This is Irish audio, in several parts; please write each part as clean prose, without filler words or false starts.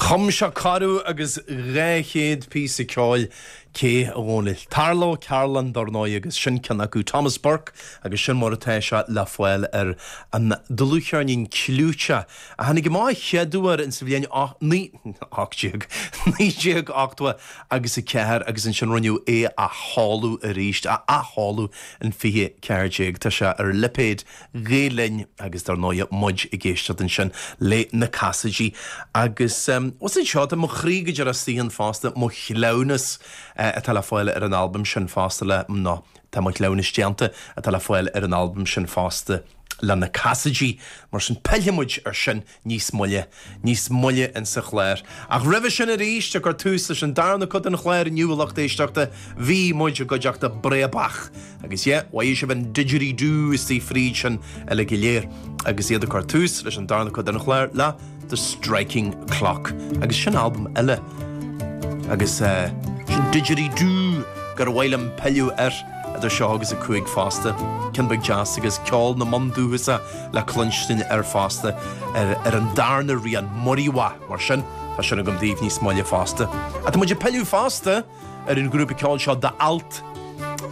Chum sé corradh agus 200 píosa ceoil, cé, a Dhónaill? Tarla Ó Cearláin, dar ndóigh, agus sin ceann acu, Thomas Burke, agus sin mar atá sé le fáil ar an dlúthcheirnín clúiteach a tháinig amach a chéaduair in sa bhliain 18, 1980 agus 4 agus ansin rinneadh é a sheoladh arís, a athsheoladh in 2014. Tá sé ar lipéad Ghael Linn agus dar ndóighe muid ag éisteacht ansin le Na Casaidigh agus bhuel anseo tá Mo Chroí go Deireadh Saothan fosta, Mo Chleamhnas atá le fáil ar an albam sin fosta le, nó tá Mo Chleamhnas Déanta atá le fáil ar an albam sin fosta le Na Casaidigh. Mar sin pillfidh muid ar sin níos moille, níos moille insa chlár. Ach roimhe sin arís, ag cur tús leis an darna cuid den chlár inniu, a lucht éisteachta, bhí muid i gcuideachta Breabach. Agus yeah, mhothaigh sibh an didgeridoo istigh fríd sin uilig go léir agus iad ag cur tús leis an darna cuid den chlár le The Striking Clock. Agus sin albam eile. Agus eh, sin didgeridoo gur mhaith liom pilleadh air. Idir seo agus 5 fosta, ceann beag deas agus ceol na mbundúchasach le cluinstin air fosta ar an darna rian, Muriwah, mar sin tá sin agam daoibh níos moille fosta. Ach tá muid ag pilleadh fosta ar an ghrúpa ceoil seo The Alt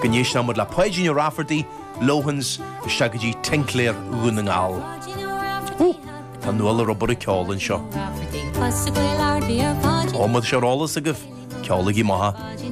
go n-éistfidh muid le Páidín Ó Raifeartaigh, Lohans, isteach go dtí Tincléir Dhún na nGall. Ó! Tá Nuala Rubaire ceoil anseo. Ó, má tá sé ar eolas agaibh, ceolaigí maith.